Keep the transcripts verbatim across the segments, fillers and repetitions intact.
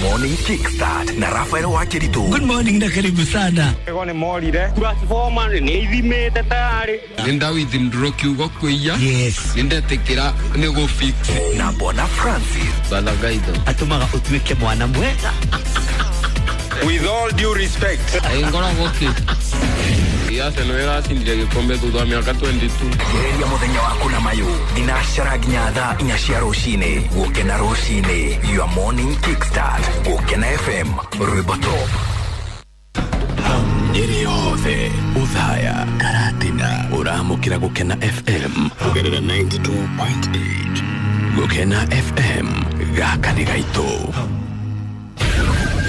Morning Kickstart na Rafael Wakiritu. Good morning na karibu sana. Ego nĩ morire transformer nĩ ithimĩte tayarĩ. Nĩ ndawithindũrwo kiugo kwĩia. Yes. Nĩ ndetĩkĩra nĩ gũ fix. Na Bwana Francis. Balagaitho. Atũmaga ũtuĩke mwana mwega. With all due respect. Ngoragwo kĩ Arsenal ĩracindire gĩkombe thutha wa mĩaka twenty-two. Gereria mũthenya waku na mayũ thinacara nginya thaa inya cia rũcinĩ. Gũkena rũcinĩ, your morning kickstart. Gũkena F M, rwĩmbo top. Nyeri yothe Uthaya Karatina ũramũkĩra Gũkena F M kũgerera ninety-two point eight. Gũkena F M gaka nĩ gaitũ.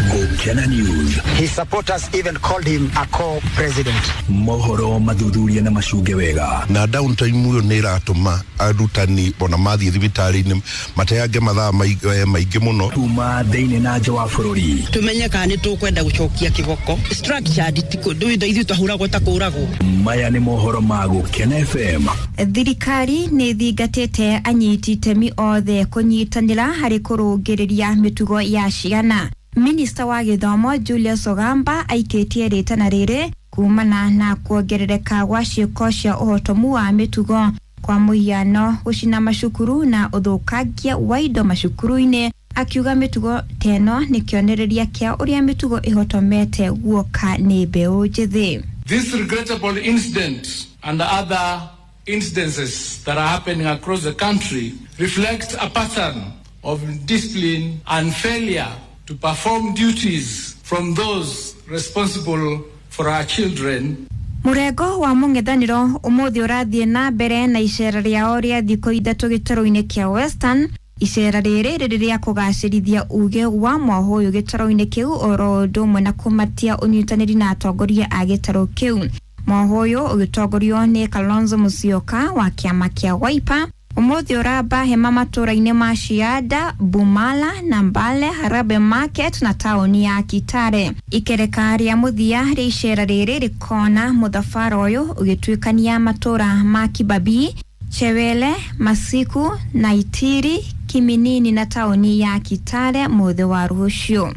Gũkena News. His supporters even called him a co-president. Mohoro mathuthuria na macunge wega. Na downtime uyo nĩ ĩratũma arutani ona mathiĩ thibitarĩ-inĩ mateange mathaa maingĩ mũno. Kuma thĩinĩ na nja wa bũrũri. Tumenye kana nĩ tũkwenda gũcokia kĩboko. Structured ti kũndũ ithuĩ twahũragwo ta kũragwo. Maya nĩ mohoro ma Gũkena F M. Thirikari nĩ thingatĩte anyiti itemi othe kũnyitanĩra harĩ kũrũngĩrĩria mĩtugo ya ciana. Minista wa gĩthomo Julius Ogamba aikĩtie rĩtana rĩrĩ kumana na kuongerereka gwa ciĩko cia ũhotomu wa mĩtugo kwa mũhiano gũcina macukuru na ũthũkangia wa indo macukuru-inĩ, akiuga mĩtugo teno nĩ kĩonereria kĩa ũrĩa mĩtugo ĩhotomete guoka nĩ mbeũ njĩthĩ. This regrettable incident and other incidences that are happening across the country reflect a pattern of discipline and failure to perform duties from those responsible for our children. Mũrengo wa mũng'ethanĩro ũmũthĩ ũrathiĩ na mbere na icera rĩao rĩa thikũ ithatũ gĩtarũ-inĩ kĩa Western. Icera rĩrĩ rĩrĩ rĩa kũgacĩrithia uge wa mwaho ũyũ gĩtarũ-inĩ kĩu oro ũndũ ũmwe na kũmatia ũnyitanĩri na atongoria a gĩtarũ kĩu. Mwaho ũyũ ũgĩtongorio nĩ Kalonzo Musyoka wa kĩama kĩa Wiper. Ũmũthĩ ũramba hema matũra-inĩ ma Cianda, Bumala na Mbale, Harambee Market na taũni ya Kitale. Ikereka rĩa mũthia rĩa icera rĩrĩ rĩkona mũthabara ũyũ ũgĩtuĩkania matũra ma Kibabii, Chewele, Masiku, Naitiri, Kiminini na taũni ya Kitale mũthĩ wa rũciũ.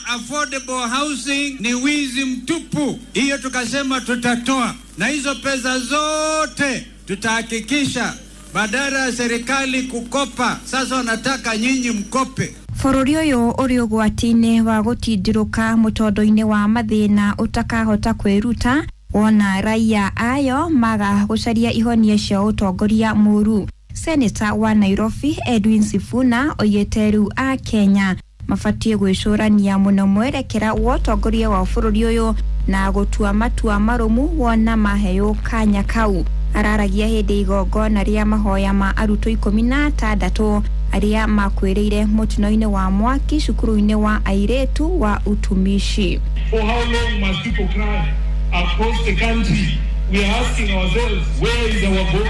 Affordable housing ni wizi mtupu. Hiyo tukasema tutatoa, na hizo pesa zote tutahakikisha badala ya serikali kukopa, sasa wanataka nyinyi mkope. Bũrũri ũyũ ũrĩ ũgwati-inĩ wa gũtindirũka mũtondo-inĩ wa mathĩna ũtakahota kwĩruta wona raia ayo maga gũcaria ihonia cia ũtongoria mũru. Seneta wa Nairobi Edwin Sifuna oigĩte rĩu a Kenya mabatiĩ gwĩcũrania mũno mwerekera wa ũtongoria wa bũrũri ũyũ na gũtua matua marũmu wona maheo kanya kau. Araragia hĩndĩ igongona rĩa mahoya ma arutwo ikũmi na atandatũ arĩa makuĩrĩire mũtino-inĩ wa mwaki cukuru-inĩ wa airĩtu wa utumishi. For how long must people cry across the country? We are asking ourselves, where is our God?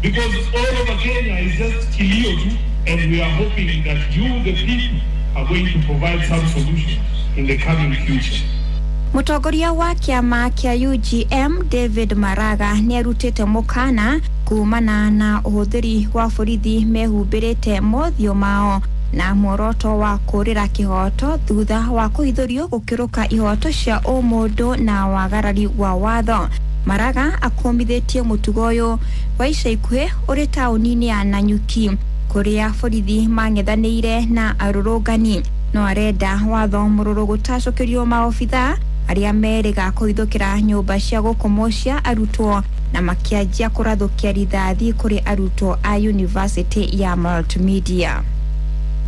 Because all over Kenya is just kilio tu, and we are hoping that you, the people, are going to provide some solutions in the coming future. Mũtongoria wa kĩama kĩa U G M David Maraga nĩarutĩte mũkana kumana na ũhũthĩri wa borithi mehumbĩrĩte mothiũ mao na muoroto wa kũrĩra kĩhoto thutha wa kũhithũrio gũkĩrũka ihoto cia ũmũndũ na wagarari wa watho. Maraga akũmithĩtie mũtugo ũyũ wa ica ikuhĩ ũrĩ taũni-inĩ ya Nanyuki kũrĩa borithi mang'ethanĩire na arũrũngani. No arenda watho mũrũrũ gũtacũkĩrio maobitha arĩa merĩga kũhithũkĩra nyũmba cia gũkomwo cia arutwo na makĩanjia kũrathũkia rithathi kũrĩ arutwo a University ya Multimedia.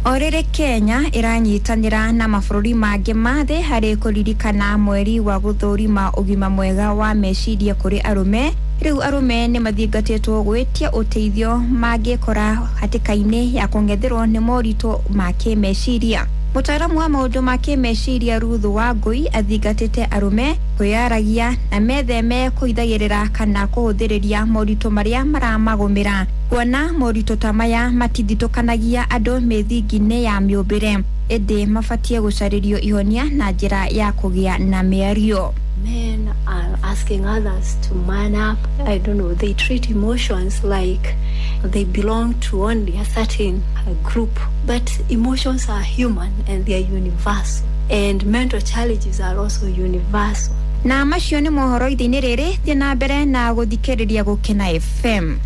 O rĩrĩ Kenya ĩranyitanĩra na mabũrũri mangĩ ma thĩ harĩ kũririkana mweri wa gũthũrima ũgima mwega wa meciria kũrĩ arũme. Rĩu arũme nĩ mathingatĩtwo gwĩtia ũteithio mangĩkora hatĩka-inĩ ya kũng'etherwo nĩ moritũ ma kĩmeciria. Mũtaaramu wa maũndũ ma kĩmeciria Ruth Wangui athingatĩte arũme kwĩyaragia na metheme kũhithagĩrĩra kana kũhũthĩrĩria moritũ marĩa maramagũmĩra. Kuona moritũ ta maya matithitũkanagia andũ mĩthingi-inĩ ya mĩũmbĩre, ĩndĩ mabatiĩ gũcarĩrio ihonia na njĩra ya kũgĩa na mĩario. Men are asking others to man up. I don't know, they treat emotions like they belong to only a certain uh, group. But emotions are human and they are universal. And mental challenges are also universal. Na macio nĩ mohoro ithe-inĩ rĩrĩ thiĩ na mbere na gũthikĩrĩria Gũkena F M.